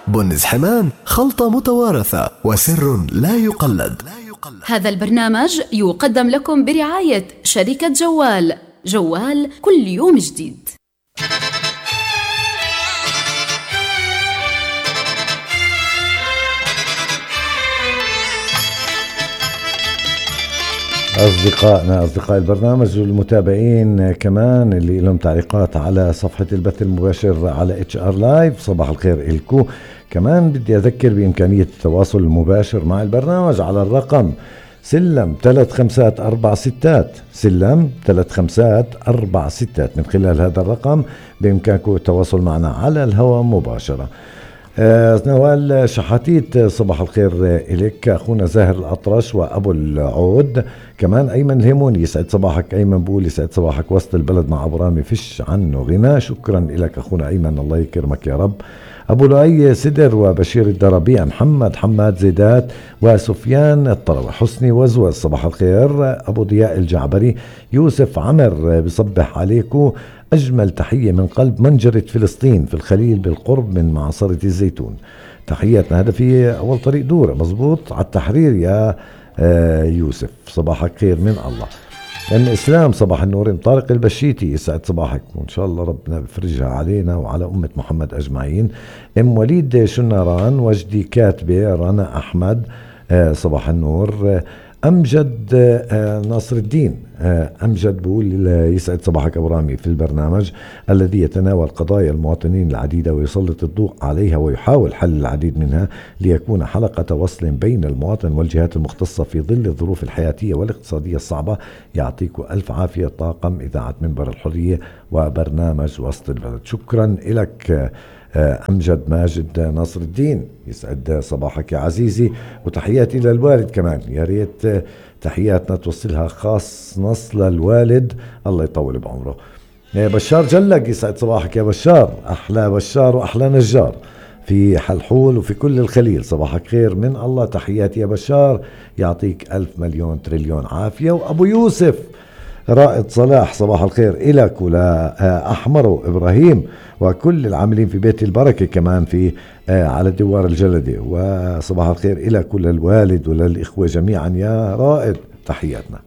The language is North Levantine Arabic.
بن زحمان، خلطة متوارثة وسر لا يقلد. هذا البرنامج يقدم لكم برعاية شركة جوال. جوال كل يوم جديد. أصدقائنا أصدقاء البرنامج والمتابعين كمان اللي لهم تعليقات على صفحة البث المباشر على HR Live، صباح الخير إلكو. كمان بدي أذكر بإمكانية التواصل المباشر مع البرنامج على الرقم سلم 3546 سلم 3546. من خلال هذا الرقم بإمكانكم التواصل معنا على الهواء مباشرة. نوال شحاتيت، صباح الخير إليك. أخونا زاهر الأطرش وأبو العود، كمان أيمن الهيموني، يسعد صباحك أيمن، بقول يسعد صباحك. وسط البلد مع أبو رامي فيش عنه غنى. شكرا لك أخونا أيمن، الله يكرمك يا رب. أبو لؤي سدر وبشير الدربيع، محمد حماد زيدات وسفيان الطروي، حسني وزوز، صباح الخير. أبو ضياء الجعبري، يوسف عمر بصبح عليكم. أجمل تحية من قلب منجرة فلسطين في الخليل بالقرب من معصرة الزيتون. تحياتنا. هذا في أول طريق دورة مزبوط على التحرير يا يوسف، صباحك خير من الله. الإسلام، صباح النور. طارق البشيتي، يسعد صباحك وإن شاء الله ربنا بفرجها علينا وعلى أمة محمد أجمعين. أم وليد شنران، وجدي كاتبة، رنا أحمد، صباح النور. أمجد ناصر الدين، أمجد بقول يسعد صباحك أبو رامي في البرنامج الذي يتناول قضايا المواطنين العديدة ويسلط الضوء عليها ويحاول حل العديد منها ليكون حلقة وصل بين المواطن والجهات المختصة في ظل الظروف الحياتية والاقتصادية الصعبة. يعطيكم ألف عافية طاقم إذاعة منبر الحرية وبرنامج وسط البلد. شكرا لك أمجد ماجد ناصر الدين، يسعد صباحك يا عزيزي. وتحياتي للوالد كمان، يا ريت تحياتنا توصلها خاص نص للوالد، الله يطول بعمره. بشار جلق، يسعد صباحك يا بشار، أحلى بشار وأحلى نجار في حلحول وفي كل الخليل، صباحك خير من الله. تحياتي يا بشار، يعطيك 1000 مليون تريليون عافية. وأبو يوسف رائد صلاح، صباح الخير إلك ولا أحمر وإبراهيم وكل العاملين في بيت البركة كمان في على دوار الجلدة، وصباح الخير إلك وللوالد وللإخوة جميعا يا رائد، تحياتنا.